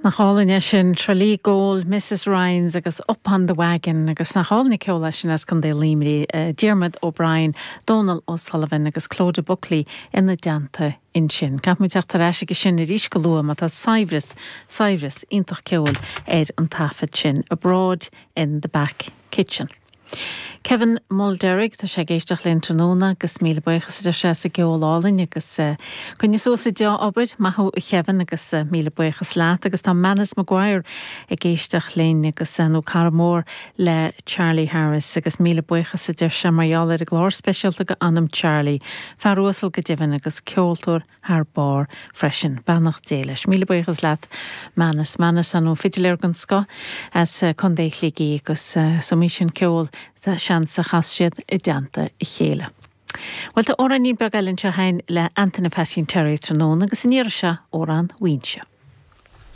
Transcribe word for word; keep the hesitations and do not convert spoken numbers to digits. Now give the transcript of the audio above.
Nach álainn é sin Tralee Gold, Mrs Ryans agus Up on the Wagon agus nach álainn ceol é sin as Contae Luimnigh uh, Diarmuid O'Brien, Donal O'Sullivan agus Clodagh Buckley ina dteannta ansin. Caithfimid teacht ar ais sin arís go luath má tá saibhreas saibhreas iontach ceoil ar an taifead sin abroad in the back kitchen. Kevin Mulderrig tá sé ag éisteacht linn tráthnóna agus míle buíochas de sé sa gceol álainn agus uh, coinnigh suas an dea-obair maith thú a Kevin agus uh, míle buíochas leat agus tá Manus Maguire ag éisteacht linn agus uh, nó cara mór le Charlie Harris agus míle buíochas a deir sé mar gheall ar an gclár speisialta go anam Charlie, fear uasal go deimhin agus ceoltóir thar barr freisin beannacht Dé leis. Míle buíochas leat Manus Manus an nó fidiléir den scoth as Contae Shligigh agus uh, so mí sin ceol tá sean a chas siad i dteannta a chéile. Well tá amhráinín beag eile anseo againn le Antaine Pheaitsín Terry tráthnóna agus an iarraidh seo amhrán Mhaínse.